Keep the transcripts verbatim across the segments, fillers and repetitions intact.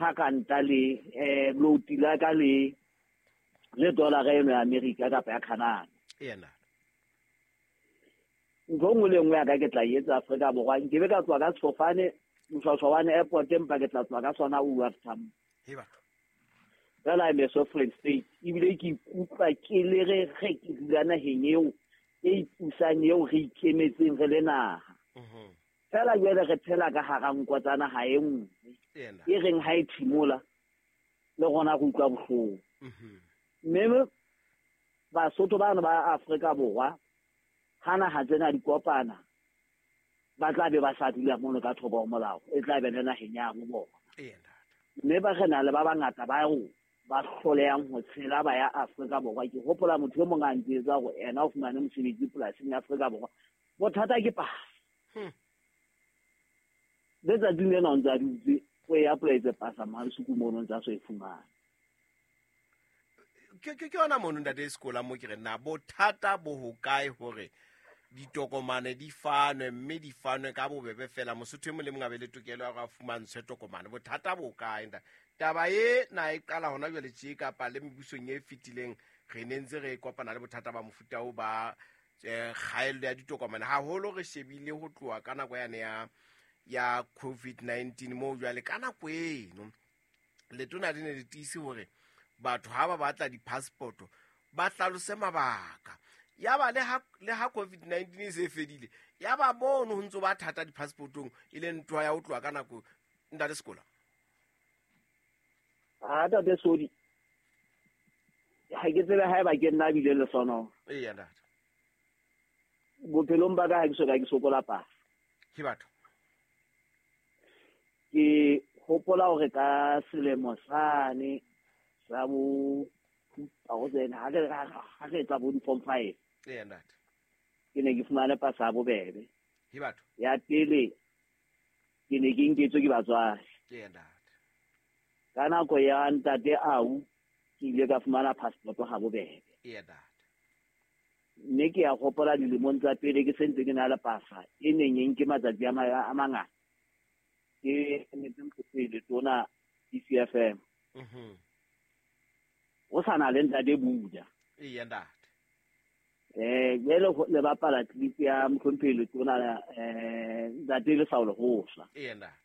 Ha ranta le eh loti la ka le le dollar eno ya America kapa ya Canada. Ena. Ntho nngwe le nngwe ya ka ke tla etsa Afrika Borwa, nke be ka tswa ka sefofane Moshoashoane Airport, empa ke tla tswa ka sona O R Tambo. He batho. Fela I'm a sovereign state, ebile ke ikutlwa ke le re ge ke dula naheng eo e ipusang eo re ikemetseng re le naha. Fela jwale re phela ka hara nko tsa naha e nngwe e reng ha e thimola le rona re utlwa bohloko. Mme Basotho bano ba Afrika Borwa ha naha tsena di kopana ba tla be ba sa dula mono ka thoko ho molao, e tla be le naheng ya bo bona. Mme ba re na le ba bangata ba ro ba hlolehang ho tshela ba ya Afrika Borwa. Ke hopola motho e mong a ntsetsa hore ena o fumane mosebetsi polasing ya Afrika Borwa, bothata ke pasa. Letsatsing lena o ntse a dutse o e apply-etse pasa Mmansuku mono o ntse a so e fumane. Ke ke yona mono ntate Sekola mo ke re na bothata bo hokae hore ditokomane di fanwe mme di fanwe ka bobebe fela, Mosotho e mong le mong a be le tokelo ya hore a fumantshwe tokomane. Bothata bo kae ntate? Taba e na e qala hona jwale tje kapa le mebusong e fetileng re ne ntse re kopana le bothata ba mofuta o ba kgaello ya ditokomane, haholo re shebile ho tloha ka nako yane ya ya COVID nineteen moo jwale ka nako eno letona le ne le tiise hore batho ha ba batla di-passport ba hlalose mabaka. Ya ba le ha le ha COVID nineteen e se fedile, ya ba mono ho ntso ba thata di-passportong e le ntho ya ho tloha ka nako ntate Sekola. Ha ntate Sodi, ha ke tsebe haeba ke nna bile le sona. Eya ntate. Bophelong ba ka ha ke soka ke sokola pasa. Ke batho. Ke hopola hore ka selemo sane sa bo two thousand ha re ha re etsa bo form five. Eya ntate. Ke ne ke fumane pasa ya bobebe. Ke batho. Ya pele ke ne ke nketswe ke batswadi. Eya ntate. Ka nako ya ntate au ke ile ka fumana passport ha bobebe. Eya ntate. Mme ke ya hopola dilemong tsa pele ke sentse ke na le pasa e neng e nke matsatsi a mangata. Ke emetse pele tona D C F M. Mhm. O sa na le ntate Buda. Eya ntate. Eh jwale le bapala clip ya Mkhomphelo tona eh ntate le Saul Hosa. Eya ntate.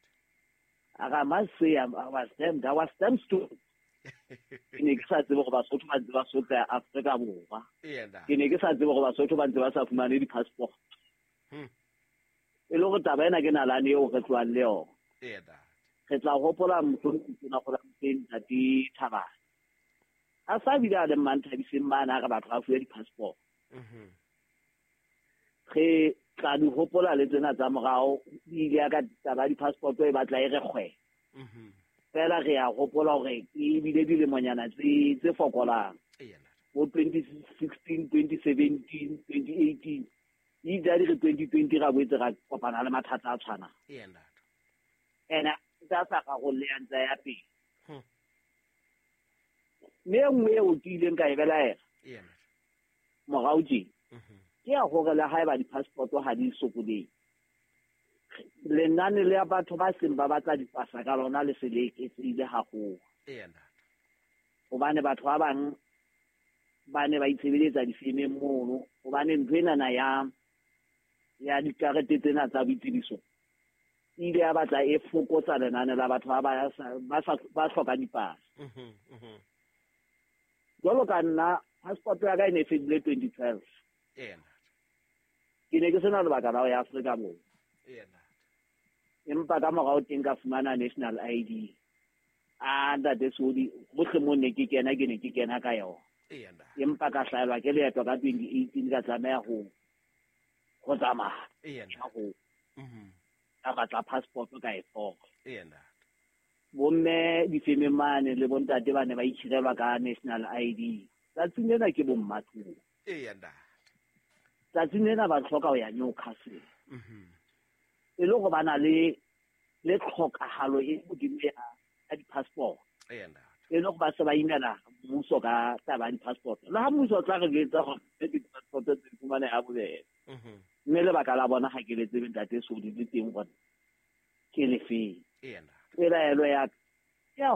A must say I was damned, I was damned stupid. Ke ne ke sa tsebe hore Basotho ba ntse ba sotla Afrika Borwa. Eya ntate. Ke ne ke sa tsebe hore Basotho ba ntse ba sa fumane di-passport. Hmm. E le hore taba ena ke nalane eo re tlohang le yona. Eya ntate. Re tla hopola Mkhomphelo tona go la ntate Thabane. A sa bile a le Mmanthabiseng mane a re batho ba fuwe di-passport. Mhm. Re tla di hopola le tsena tsa morao, di ile ya ka taba di-passport e batla e re kgwe. Mhm. Fela re a hopola hore e bile dilemonyana tse tse fokolang. Eya ntate. Bo twenty sixteen, twenty seventeen, twenty eighteen. E ile di re twenty twenty ra boetse ra kopana le mathata a tshwanang. Eya ntate. Ena tsa sa rarolle ya ntse ya pele. Hmm. Mme e nngwe eo ke ileng ka e belaela. Eya ntate. Morao tje. Mhm. Ke ya hore le haeba di-passport ha di sokolehe, lenane le ya batho ba seng ba batla dipasa ka lona le se le eketsehile haholo. Eya ntate. Hobane batho ba bang ba ne ba itshebeletsa difemeng mono, hobane ntho enana ya ya dikarete tsena tsa boitsebiso e ile ya batla e fokotsa lenane la batho ba ba ba sa ba hlokang dipasa. Mhm, mhm. Jwalo ka nna passport ya ka e ne e fedile twenty twelve. Eya ntate. Ke ne ke sena lebaka la ho ya Afrika Borwa. Eya ntate. Empa ka morao teng ka fumana national I D. A ntate Sodi, hohle moo ne ke kena ke ne ke kena ka yona. Eya ntate. Empa ka hlaelwa ke leeto ka twenty eighteen ka tlameha ho ho tsamaya. Eya ntate. Ho Mhm. ka batla passport ka e thola. Eya ntate. Bomme difemeng mane le bontate ba ne ba itshirelwa ka national I D. Tsatsing lena ke bommatlo. Eya ntate. Tsatsing lena ba hloka ho ya Newcastle. Mhm. E le hore ba na le le tlhokahalo e hodimo ya ya di-passport. Eya ntate. E le hore ba se ba imela mmuso ka taba ya di-passport. Le ha mmuso o tla re jwetsa hore di-passport tse di fumaneha ha bobebe. Mhm. Mme lebaka la bona ha ke le tsebe ntate Sodi le teng hore ke lefeng. Eya ntate. Pelaelo ya